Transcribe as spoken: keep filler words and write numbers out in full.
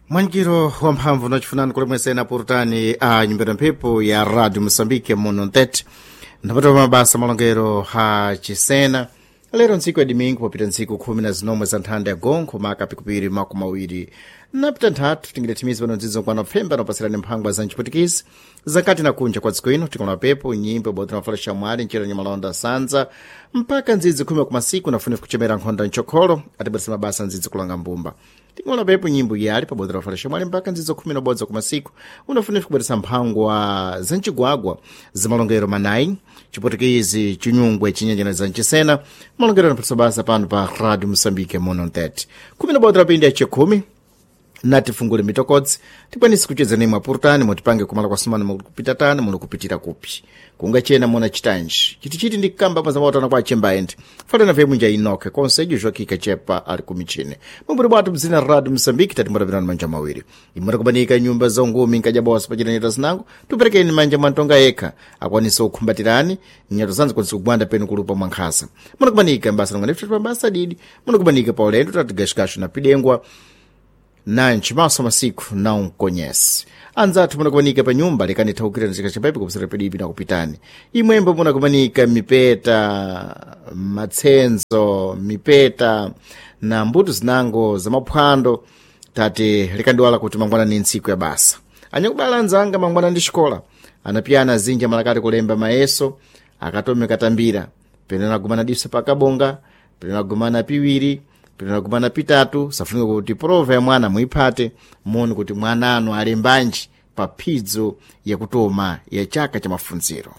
Mwankiro wamphamvu nachifunani kulemwesena purutani a nyumbera mphepo ya Radio Moçambique muno ntete ndapatopa mabasa malongero ha chisena. Lero ntsiku ya domingo, popita ntsiku khumi na zinomwe za nthanda ya gonkho maka pikupiri makumi awiri napita nthatu, tingidathimiza pano ndzidzo nkwana pfemba nopasirani mphangwa za mchiputikisi zakati na kunja kwa dziko ino. Tikona pepo nyimbo bodi na flasha mwali nchera nyamalonda sanza mpaka ndzidzi khumi kumasiku nafuna kuchemera nkhonda nchokholo atibweresa mabasa ndzidzi kulanga mbumba. Tikuona pepo nyimbo yali pabodzi la flasha mwali mpaka ndzidzo khumi na ubodzi kumasiku unafuna kubweresa mphangwa za mchigwagwa zimalongero manayi, Chiputukizi, Chinyungwe, Chinyenjena za Nchisena, malongero anaphatisa basa pano pa Radio Moçambique muno ntete khumi na ubodzi lapindi ya chikhumi. Natifungule mitokodzi tikwanise kucheza nemwe apurutani mutipange kumala kwa sumana muli tani, muli kupitira kupi, kungachena mona chitanji chitichiti ndi kukamba pazamautana kwa achemba ende falana vye mwinja inoke konsejo joakika chepa ali kumichine mumburi bwatu mzina Radio Moçambique. Tatimbulapirani manja mawiri imwe takubanika nyumba za ungumi nkajabosa pachita nyota zinango tuperekeni manja mwantonga yekha akwanise kukhumbatirani nyato zanzi kwanise kugwanda penu kulupa mwankhasa. Munakubanika mbasa nonga pabasa didi, munakubanika pa ulendo tati gashgashu na pidengwa nanchi maso masiku naunkonhese anzathu munakumanika pa nyumba lekani thaukirani chika chapaipi kupsera pedipi nakupitani imwembo munakumanika mipeta matsenzo mipeta na mbuto zinango za maphwando tate likandiwala kuti mangwana ni ntsiku ya basa. Anyakubala anzanga mangwana ndi xikola anapiyana azinji amalakati kulemba mayeso akatome katambira pene anagumana diso pakabonga, pene anagumana piwiri, pene pitatu. Safunika kuti prova ya mwana muiphate moni kuti mwana anu alembanji pa phidzo yakutoma ya chaka cha mafunziro.